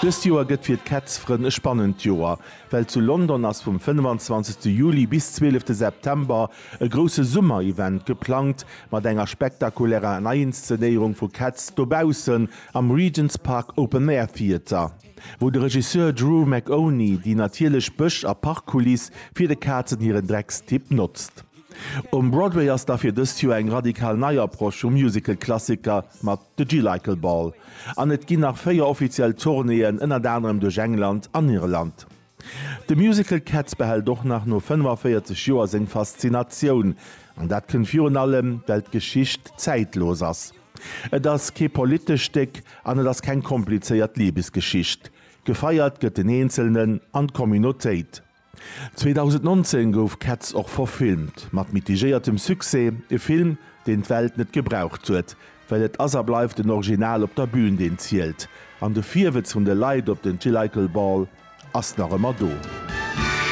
Dëst Joer gëtt fir d'Cats-Frënn e spannend Joer, well zu London ass vum 25. Juli bis 12. September e grousse Summer-Event geplangt, mat enger spektakulärer Neiinszenéierung vu Cats dobaussen am Regent's Park Open Air Theatre, wou de Regisseur Drew McOnie déi natierlech Bësch a Parkkuliss fir de Kazen hiren Dreckstipp notzt. Um Broadway ass da fir dëst Joer eng radikal nei Approche vum Musical-Klassiker mat The Jellicle Ball. An et ginn nach 4 offiziell Tournéeën, ënnert anerem duerch England an Irland. De Musical Cats behält och nach no 45 Joer seng Faszinatioun. An dat kënnt virun allem, well d'Geschicht zäitlos ass. Et ass kee politescht Stéck an et ass keng komplizéiert Libesgeschicht. Gefeiert gëtt den Eenzelnen an d'Communautéit. 2019 gouf Cats och verfilmt, mat mitigéiertem Succès, e Film, deen d'Welt net gebraucht huet, well et ass a bleift den Original op der Bühn, deen zielt, an de Virwëtz vun de Leit op den Jellicle Ball ass nach ëmmer do.